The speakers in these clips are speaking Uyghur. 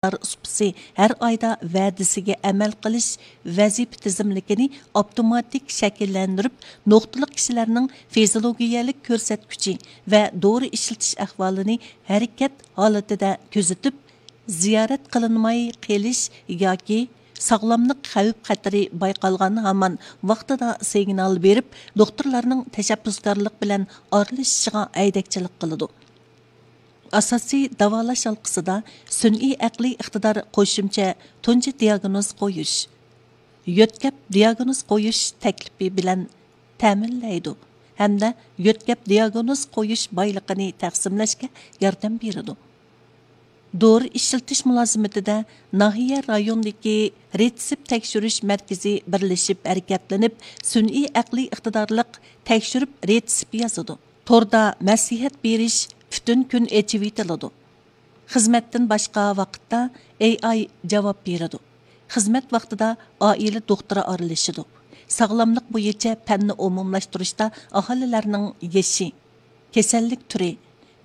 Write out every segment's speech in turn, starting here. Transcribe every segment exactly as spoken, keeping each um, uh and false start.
ئىقتىدار سۇپىسى ھەر ئايدا ۋەدىسىگە ئەمەل قىلىش ۋەزىپە تىزىملىكىنى ئاپتوماتىك شەكىللەندۈرۈپ، نۇقتىلىق كىشىلەرنىڭ فىزىولوگىيەلىك كۆرسەتكۈچى ۋە دورا ئىشلىتىش ئەھۋالىنى ھەرىكەت ھالىتىدە كۆزىتىپ، زىيارەت قىلىنماي قېلىش ياكى ساغلاملىق خەۋپ خەتىرى بايقالغان ھامان ۋاقتىدا سىگنال بېرىپ، دوختۇرلارنىڭ تەشەببۇسكارلىق بىلەن ئارىلىشىشىغا ھەيدەكچىلىك قىلىدۇ. ئاساسىي داۋالاش ھالقىسىدا سۈنئىي ئەقلىي ئىقتىدار قوشۇمچە تۇنجى دىئاگنوز قويۇش، يۆتكەپ دىئاگنوز قويۇش تەكلىپى بىلەن تەمىنلەيدۇ ھەمدە يۆتكەپ دىئاگنوز قويۇش بايلىقىنى تەقسىملەشكە ياردەم بېرىدۇ. دورا ئىشلىتىش مۇلازىمىتىدە ناھىيە رايوندىكى رېتسېپ تەكشۈرۈش مەركىزى بىرلىشىپ ھەرىكەتلىنىپ، سۈنئىي ئەقلىي ئىقتىدارلىق تەكشۈرۈپ رېتسېپ يازىدۇ. توردا مەسلىھەت بېرىش پۈتۈن كۈن ئېچىۋېتىلىدۇ. خىزمەتتىن باشقا ۋاقىتتا ئېي ئاي جاۋاب بېرىدۇ. خىزمەت ۋاقتىدا ئائىلە دوختۇرى ئارىلىشىدۇ. ساغلاملىق بويىچە پەننى ئومۇملاشتۇرۇشتا ئاھالىلەرنىڭ يېشى، كېسەللىك تۈرى،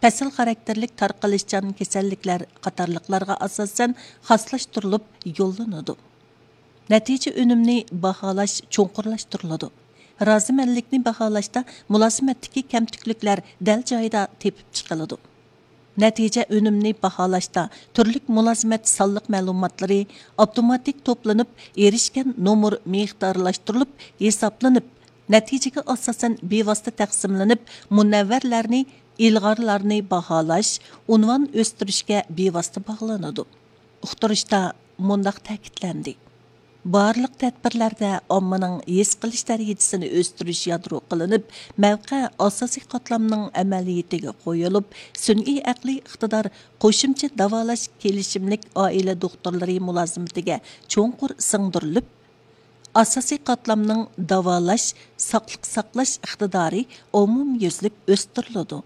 پەسىل خاراكتېرلىك تارقىلىشچان كېسەللىكلەر قاتارلىقلارغا ئاساسەن خاسلاشتۇرۇلۇپ يوللىنىدۇ. نەتىجە ئۈنۈمنى باھالاش چوڭقۇرلاشتۇرۇلىدۇ. رازىمەنلىكنى باھالاشتا مۇلازىمەتتىكى كەمتۈكلۈكلەر دەل جايىدا تېپىپ چىقىلىدۇ. نەتىجە ئۈنۈمنى باھالاشتا تۈرلۈك مۇلازىمەت سانلىق مەلۇماتلىرى ئاپتوماتىك توپلىنىپ، ئېرىشكەن نومۇر مىقدارلاشتۇرۇلۇپ ھېسابلىنىپ، نەتىجىگە ئاساسەن بىۋاسىتە تەقسىملىنىپ، مۇنەۋۋەرلەرنى، ئىلغارلارنى باھالاش، ئۇنۋان ئۆستۈرۈشكە بىۋاسىتە باغلىنىدۇ. ئۇقتۇرۇشتا مۇنداق تەكىتلەندى: بارلىق تەدبىرلەردە ئاممىنىڭ ھېس قىلىش دەرىجىسىنى ئۆستۈرۈش يادرو قىلىنىپ، مەۋقە ئاساسىي قاتلامنىڭ ئەمەلىيىتىگە قويۇلۇپ، سۈنئىي ئەقلىي ئىقتىدار قوشۇمچە داۋالاش كېلىشىملىك ئائىلە دوختۇرلىرى مۇلازىمىتىگە چوڭقۇر سىڭدۈرۈلۈپ، ئاساسىي قاتلامنىڭ داۋالاش، ساقلىق ساقلاش ئىقتىدارى ئومۇميۈزلۈك ئۆستۈرۈلىدۇ.